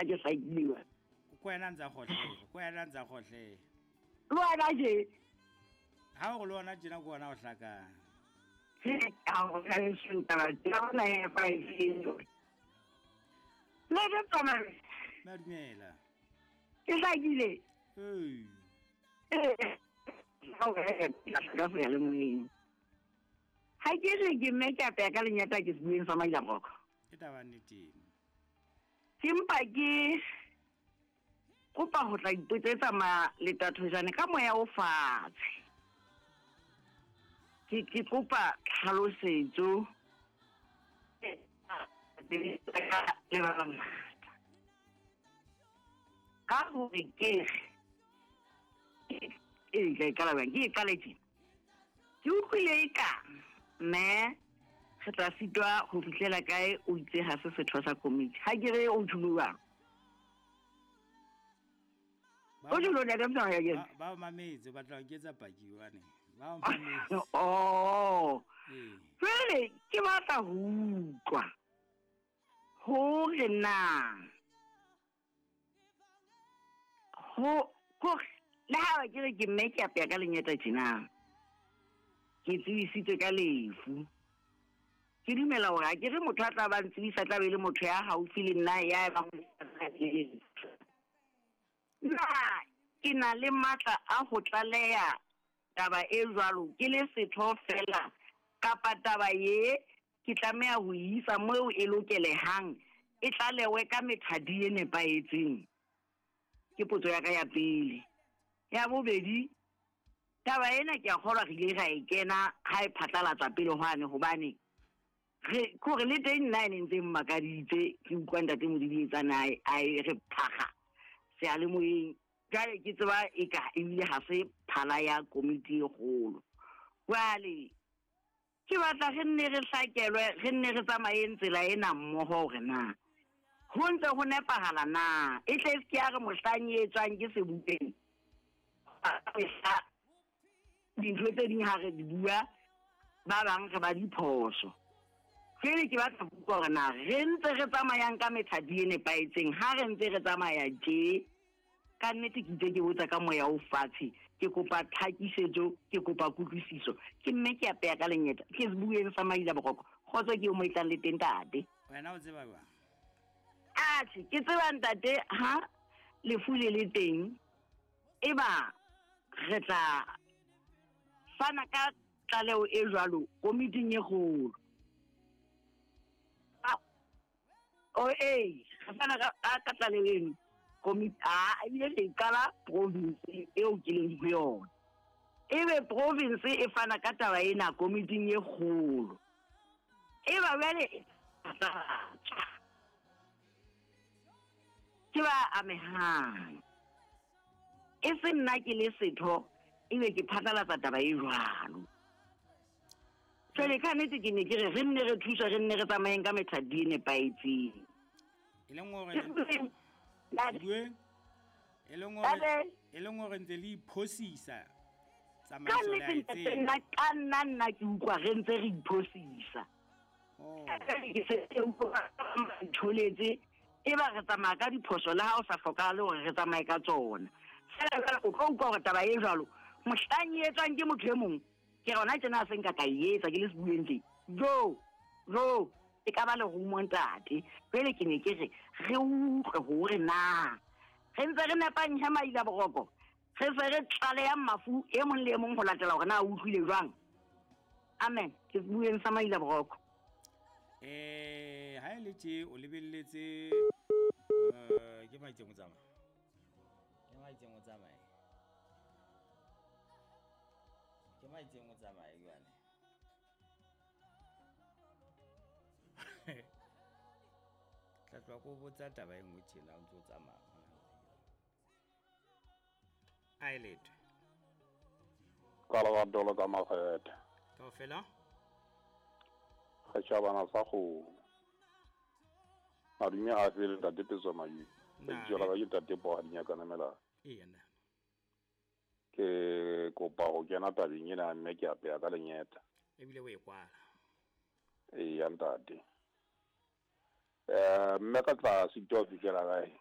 Ke hlakile. Ko wena ntsa gotlhe, ko wena ntsa gotlhe. Le wena je. Ha o le wona tjena ko wona o hlakang. Ka go ka taba tsa bona e fa e Le re tsamaya. Madumela. Ke hlakile. Ee. Ee. Ka seyalemoyeng. Ha ke re ke mme ke apeya ka lenyata ke sebueng sa Mailaboko. Ke taba nnete. Ke mpa ke kopa ho tla ipotsetsa maletathojane ka moya o fatshe. Ke ke kopa tlhalosetso le ba bangata. Ka hore ke re e ka e qala bjang? Ke e qale tjena. Ke utlwile e ka mme re tla sitwa ho fihlela kae o itse ha se setho sa komiti. Ha ke re o tjholo jwang? O tjholo ntate Motsamai ya kena. Ba mametse ba tla nketsa paki hobane. Ba mametse. Oh. Ee. Jwale ke batla ho utlwa hore na ho kore le ha ke re ke mme ke apeya ka lenyeta tjena ke tsebisitswe ka lefu ke dumela hore ha ke re motho a tla ba ntsebisa tla be le motho ya haufi le nna ya bang na ke na le matla a ho tlaleha taba e jwalo ke le setho fela kapa taba ye ke tlameha ho e isa moo e lokelehang e tlalewe ka methati e nepahetseng? Ke potso ya ka ya pele. Ya bobedi, taba ena ke a kgolwa re ile ra e kena ha e phatlalatsa pele hwane hobane re kore le teng nna e ne ntse mmakaditse ke utlwa ntate Modidietsane a e re phakga seyalemoyeng. Jwale ke tseba eka ebile ha se phala ya komiti e kgolo. Jwale Ke batla re nne re hlakelwe, re nne re tsamayeng tsela ena mmoho hore na ho ntse ho nepahala na. E tle e se ke ya re mohlang e etswang ke sebukeng, mehla dintho tse ding ha re di bua, ba bang re ba diphoso. Jwale ke batla ho utlwa hore na re ntse re tsamayang ka methati e nepahetseng ha re ntse re tsamaya tje. Ka nnete ke itse ke botsa ka moya o fatshe, ke kopa tlhakisetso, ke kopa kutlwisiso. Ke mme ke apeya ka lenyeta, ke sebueng sa Maila Boroko. Kgotso ke eo mo e tlang le teng ntate. Wena o tseba jwang? Atjhe, ke tseba ntate ha lefu le le teng, eba re tla fana ka tlaleho e jwalo komiting e kgolo. O ee, re fana ka ka tlaleho eno komiti a ebile re e qala province eo ke leng ho yona. Ebe province e fana ka taba ena komiting e kgolo. Eba jwale e phatlalatswa ke ba amehang. E se nna ke le setho ebe ke phatlalatsa taba e jwalo. Jwale ka nnete ke ne ke re re nne re thuswe re nne re tsamayeng ka methati e nepahetseng. E leng hore Bue? E leng hore e leng hore ntse le iphosisa Ka tsamaiso le nnete a e ntate tseba. nna ka nna nna ke utlwa re ntse re iphosisa. Oh. Ke se ke utlwa ba ntholetse e ba re tsamaya ka diphoso le ha o sa hlokahale hore re tsamaye ka tsona. Feela jwale o tlo utlwa hore taba e jwalo mohlang e etswang ke motho e mong ke rona tjena a se nka ka e etsa ke le sebueng tje. Jo, jo, e ka ba lerumo ntate. Jwale ke ne ke re re utlwe hore na re ntse re nepang he Maila Boroko, re se re tlalehang mafu e mong le e mong ho latela hore na o utlwile jwang. Amen. Ke sebueng sa Maila Boroko. Eh, ha e le tje o lebelletse ke maitseng o tsamaya. Ke maitseng o tsamaye. Ke maitseng o tsamaye jwale. Tla tloha ko botsa taba e nngwe tjena o ntse o tsamaya mona. A e letho. Ka lebatolo ka makgethe. Kaofela? Setjhabana sa kgomo. Madume a fele ntate Petso Mayubi. Na, Lebitso la ka ke ntate Poha Dinyakana Melala. Eya nna. Ke kopa ho kena tabeng ena mme ke apeya ka lenyeta. Ebile o e kwala. Eya ntate. Mme ka tla sitwa ho fihlela kae?